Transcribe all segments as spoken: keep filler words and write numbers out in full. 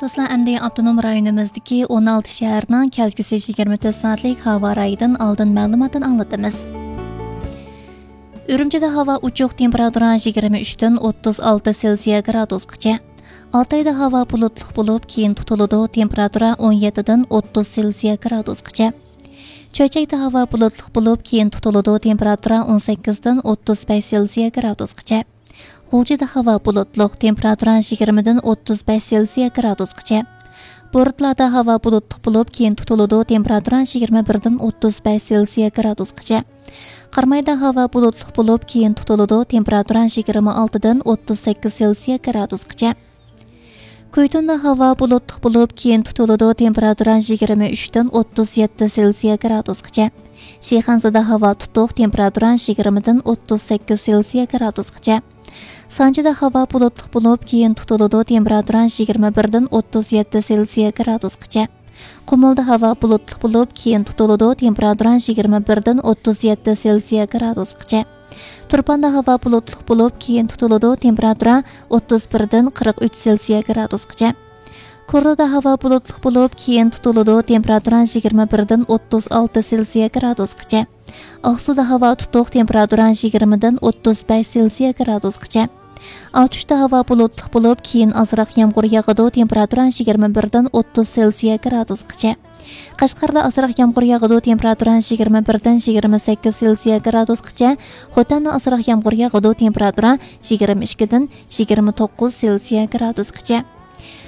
دوستلار، ئەمدى ئاپتونوم رايونىمىزدىكى ئون ئالتە شەھەرنىڭ كەلگۈسى يىگىرمە تۆت سائەتلىك ھاۋا رايىدىن ئالدىن مەلۇماتنى ئاڭلىتىمىز. ئۈرۈمچىدە ھاۋا ئوچۇق، تېمپېراتۇرا يىگىرمە ئۈچتىن ئوتتۇز ئالتە سېلسىيە گرادۇسقىچە. ئالتايدا ھاۋا بۇلۇتلۇق بولۇپ، كېيىن تۇتۇلىدۇ، تېمپېراتۇرا ئون يەتتىدىن ئوتتۇز سېلسىيە گرادۇسقىچە. چۆچەكتە ھاۋا بۇلۇتلۇق بولۇپ، كېيىن تۇتۇلىدۇ، تېمپېراتۇرا ئون سەككىزدىن ئوتتۇز بەش سېلسىيە گرادۇسقىچە. غۇلجىدا ھاۋا بۇلۇتلۇق، تېمپېراتۇرا يىگىرمىدىن ئوتتۇز بەش سېلسىيە گرادۇسقىچە. بورتلادا ھاۋا بۇلۇتلۇق بولۇپ، كېيىن تۇتۇلىدۇ، تېمپېراتۇرا يىگىرمە بىردىن ئوتتۇز بەش سېلسىيە گرادۇسقىچە. قارامايدا ھاۋا بۇلۇتلۇق بولۇپ، كېيىن تۇتۇلىدۇ، تېمپېراتۇرا يىگىرمە ئالتىدىن ئوتتۇز سەككىز سېلسىيە گرادۇسقىچە. كۇيتۇندا ھاۋا بۇلۇتلۇق بولۇپ، كېيىن تۇتۇلىدۇ، تېمپېراتۇرا يىگىرمە ئۈچتىن ئوتتۇز يەتتە سېلسىيە گرادۇسقىچە. شىخەنزىدە ھاۋا تۇتۇق، تېمپېراتۇرا يىگىرمىدىن ئوتتۇز سەككىز سېلسىيە گرادۇسقىچە. سانجىدا ھاۋا بۇلۇتلۇق بولۇپ، كېيىن تۇتۇلىدۇ، تېمپېراتۇرا يىگىرمە بىردىن ئوتتۇز يەتتە سېلسىيە گرادۇسقىچە. قۇمۇلدا ھاۋا بۇلۇتلۇق بولۇپ، كېيىن تۇتۇلىدۇ، تېمپېراتۇرا يىگىرمە بىردىن ئوتتۇز يەتتە سېلسىيە گرادۇسقىچە. تۇرپاندا ھاۋا بۇلۇتلۇق بولۇپ، كېيىن تۇتۇلىدۇ، تېمپېراتۇرا ئوتتۇز بىردىن قىرىق ئۈچ سېلسىيە گرادۇسقىچە. كورلىدا ھاۋا بۇلۇتلۇق بولۇپ، كېيىن تۇتۇلىدۇ، تېمپېراتۇرا يىگىرمە بىردىن ئوتتۇز ئالتە سېلسىيە گرادۇسقىچە. ئاقسۇدا ھاۋا تۇتۇق، تېمپېراتۇرا يىگىرمىدىن ئوتتۇز بەش سېلسىيە گرادۇسقىچە. ئاتۇشتا ھاۋا بۇلۇتلۇق بولۇپ، كېيىن ئازراق يامغۇر ياغىدۇ، تېمپېراتۇرا يىگىرمە بىردىن ئوتتۇز سېلسىيە گرادۇسقىچە. قەشقەردە ئازراق يامغۇر ياغىدۇ، تېمپېراتۇرا يىگىرمە بىردىن يىگىرمە سەككىز سېلسىيە گرادۇسقىچە. خوتەندە ئازراق يامغۇر ياغىدۇ، تېمپېراتۇرا يىگىرمە ئىككىدىن يىگىرمە توققۇز سېلسىيە گرادۇسقىچە.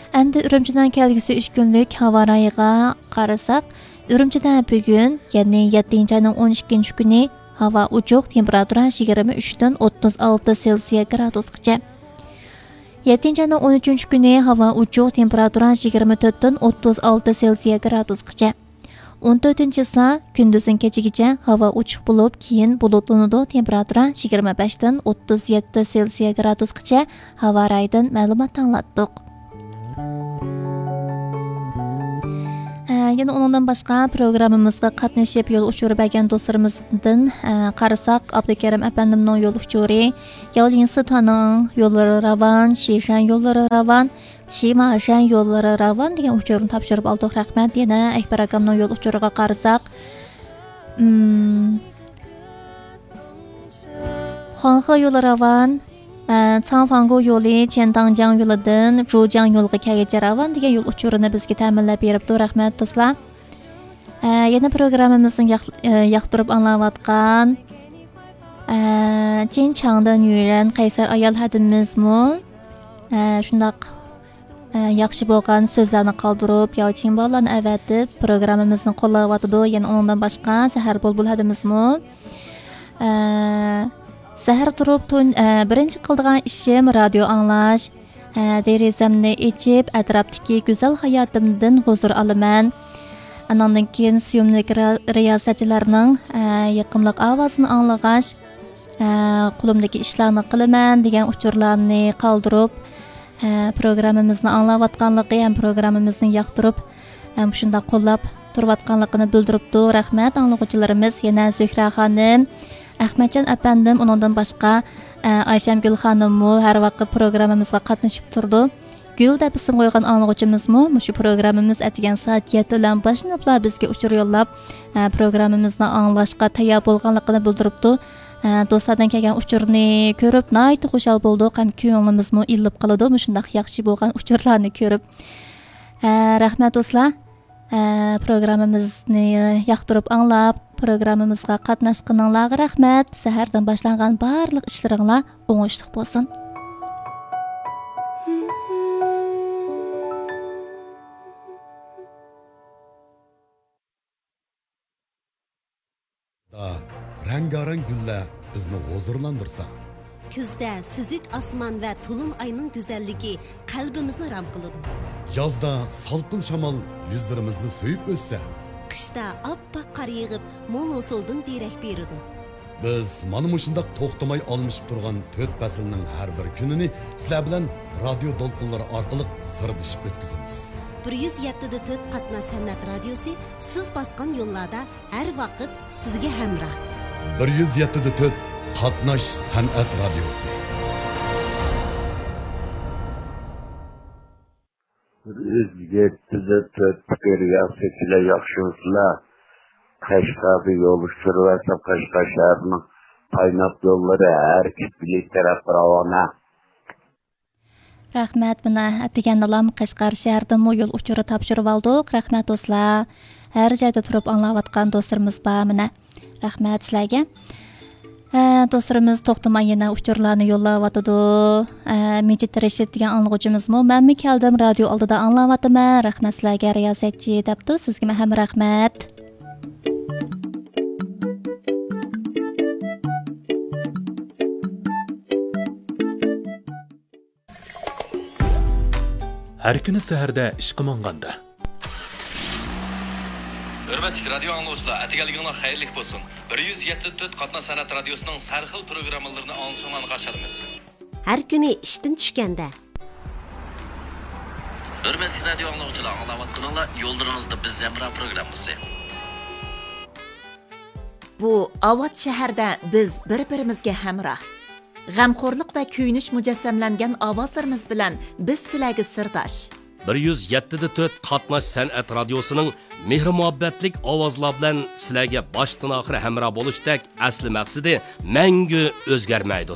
ئەمدى ئۈرۈمچىنىڭ كەلگۈسى ئۈچ كۈنلۈك ھاۋا رايىغا قارىساق، ئۈرۈمچىدە بۈگۈن، يەنى يەتتىنچى ئاينىڭ ئون ئىككىنچى كۈنى ھاۋا ئوچۇق، تېمپېراتۇرا يىگىرمە ئۈچتىن ئوتتۇز ئالتە سېلسىيە گرادۇسقىچە. يەتتىنچى ئاينىڭ ئون ئۈچىنچى كۈنى ھاۋا ئوچۇق، تېمپېراتۇرا يىگىرمە تۆتتىن ئوتتۇز ئالتە سېلسىيە گرادۇسقىچە. ئون تۆتىنچى چىسلا كۈندۈزدىن كېچىگىچە ھاۋا ئوچۇق بولۇپ، كېيىن بۇلۇتلىنىدۇ، تېمپېراتۇرا يىگىرمە بەشتىن ئوتتۇز يەتتە سېلسىيە گرادۇسقىچە ھاۋا رايىدىن مەلۇمات ئاڭلاتتۇق. ئە، يەنە ئۇنىڭدىن باشقا پروگراممىمىزغا قاتنىشىپ يول ئۇچۇرى بەرگەن دوستلىرىمىزدىن، ئە، قارىساق، ئابدۇكېرىم ئەپەندىمنىڭ يول ئۇچۇرى، ياۋلىنسىتاننىڭ يوللىرى راۋان، شىشەن يوللىرى راۋان، چىماشەن يوللىرى راۋان دېگەن ئۇچۇرنى تاپشۇرۇپ ئالدۇق، رەھمەت. يەنە ئەكبەر ئاكامنىڭ يول ئۇچۇرىغا قارىساق، ئىم، خۇاڭخې يولى راۋان، ئە، چاڭفاڭگو يولى چيەنتاڭجياڭ يولىدىن جۇجياڭ يولىغا كەلگۈچە راۋان دېگەن يول ئۇچۇرىنى بىزگە تەمىنلەپ بېرىپتۇ، رەھمەت دوستلار. ئە، يەنە پروگراممىمىزنى ياق-، ئە، ياقتۇرۇپ ئاڭلاۋاتقان، ئە، چىن چاڭدىن يۈرەن قەيسەر ئايال ھەدىمىزمۇ، ئە، شۇنداق ئە، ياخشى بولغان سۆزلەرنى قالدۇرۇپ، ياۋچىن بالىلارنى ئەۋەتىپ، پروگراممىمىزنى قوللاۋاتىدۇ. يەنە ئۇنىڭدىن باشقا سەھەر بۇلبۇل ھەدىمىزمۇ، ئە، سەھەر تۇرۇپ تۇن-، ئە، بىرىنچى قىلىدىغان ئىشىم رادىيو ئاڭلاش. ئە، دېرىزەمنى ئېچىپ، ئەتراپتىكى گۈزەل ھاياتىمدىن ھۇزۇر ئالىمەن. ئاناندىن كېيىن سۆيۈملۈك را-، رىياسەتچىلەرنىڭ، ئە، يېقىملىق ئاۋازىنى ئاڭلىغاچ، ئە، قولۇمدىكى ئىشلارنى قىلىمەن دېگەن ئۇچۇرلارنى قالدۇرۇپ، ئە، پروگراممىمىزنى ئاڭلاۋاتقانلىقى ھەم پروگراممىمىزنى ياقتۇرۇپ، ھەم شۇنداق قوللاپ تۇرۇۋاتقانلىقىنى بىلدۈرۈپتۇ. رەھمەت ئاڭلىغۇچىلىرىمىز. يەنە زۆھرە خانىم، ئەخمەتجان ئەپەندىم، ئۇنىڭدىن باشقا، ئە، ئايشەمگۈل خانىممۇ ھەر ۋاقىت پروگراممىمىزغا قاتنىشىپ تۇرىدۇ. گۈل دەپ ئىسىم قويغان ئاڭلىغۇچىمىزمۇ مۇشۇ پروگراممىمىز ئەتىگەن سائەت يەتتە بىلەن باشلىنىپلا بىزگە ئۇچۇر يوللاپ، ئە، پروگراممىمىزنى ئاڭلاشقا تەييار بولغانلىقىنى بىلدۈرۈپتۇ. ئە، دوستلاردىن كەلگەن ئۇچۇرنى كۆرۈپ ناھايىتى خۇشال بولدۇق ھەم كۆڭلىمىزمۇ ئىللىپ قالىدۇ مۇشۇنداق ياخشى بولغان ئۇچۇرلارنى كۆرۈپ. ئە، رەھمەت دوستلار. ئە، پروگراممىمىزنى ياقتۇرۇپ ئاڭلاپ، پروگراممىمىزغا قاتناشقىنىڭلارغا رەھمەت. سەھەردىن باشلانغان بارلىق ئىشلىرىڭلار ئوڭۇشلۇق بولسۇن. دا، رەڭگارەڭ گۈللەر بىزنى ھۇزۇرلاندۇرسا. كۈزدە سۈزۈك ئاسمان ۋە تولۇن ئاينىڭ گۈزەللىكى قەلبىمىزنى رام قىلىدۇ. يازدا سالقىن شامال يۈزلىرىمىزنى سۆيۈپ ئۆتسە. قىشتا ئاپئاق قار يېغىپ، مول ھوسۇلدىن دېرەك بېرىدۇ. بىز مانا مۇشۇنداق توختىماي ئالمىشىپ تۇرغان تۆت پەسىلنىڭ ھەر بىر كۈنىنى سىلەر بىلەن رادىيو دولقۇنلىرى ئارقىلىق سىردىشىپ ئۆتكۈزىمىز. بىر يۈز يەتتە دە تۆت قاتناش سەنئەت رادىيوسى سىز باسقان يوللاردا ھەر ۋاقىت سىزگە ھەمراھ. بىر يۈز يەتتە دە تۆت قاتناش سەنئەت رادىيوسى. بىر يۈز يەتتىدە تۆت كۆرگەنسىكىلەر ياخشىمۇسىلەر؟ قەشقەردە يول ئۇچۇرى ۋە قەشقەر شەھىرىنىڭ پايناپ يوللىرى ھەرىكەت بىلەن تەرەپ راۋانە. رەھمەت، مانا ئەتىگەندىلا قەشقەر شەھىرىدىنمۇ يول ئۇچۇرى تاپشۇرۇۋالدۇق. رەھمەت دوستلار. ھەر جايدا تۇرۇپ ئاڭلاۋاتقان دوستلىرىمىز بار مانا. رەھمەت سىلەرگە. ھە، دوستلىرىمىز توختىماي يەنە ئۇچۇرلارنى يوللاۋاتىدۇ. ھە، مىجىت رەشىت دېگەن ئاڭلىغۇچىمىزمۇ، مەنمۇ كەلدىم، رادىيو ئالدىدا ئاڭلاۋاتىمەن. رەھمەت سىلەرگە، رىياسەتچى، دەپتۇ. سىزگىمۇ ھەم رەھمەت. ھەر كۈنى سەھەردە ئىشقا ماڭغاندا. ھۆرمەتلىك رادىيو ئاڭلىغۇچىلار، ئەتىگەنلىكىڭلار خەيرلىك بولسۇن. بىر يۈز يەتتە تۆت قاتناش سەنئەت رادىيوسىنىڭ سەرخىل پروگراممىلىرىنى ئاڭلىشىڭلارنى قارشى ئالىمىز. ھەر كۈنى ئىشتىن چۈشكەندە. ھۆرمەتلىك رادىيو ئاڭلىغۇچىلار، ئاڭلاۋاتقىنىڭلار يوللىرىڭىزدا بىز ھەمراھ پروگراممىسى. بۇ ئاۋات شەھەردە بىز بىر-بىرىمىزگە ھەمراھ. غەمخورلۇق ۋە كۆيۈنۈش مۇجەسسەملەنگەن ئاۋازلىرىمىز بىلەن بىز سىلەرگە سىرداش. بىر يۈز يەتتىدە تۆت قاتناش سەنئەت رادىيوسىنىڭ مېھىر-مۇھەببەتلىك ئاۋازلار بىلەن سىلەرگە باشتىن-ئاخىر ھەمراھ بولۇشتەك ئەسلى مەقسىتى مەڭگۈ ئۆزگەرمەيدۇ.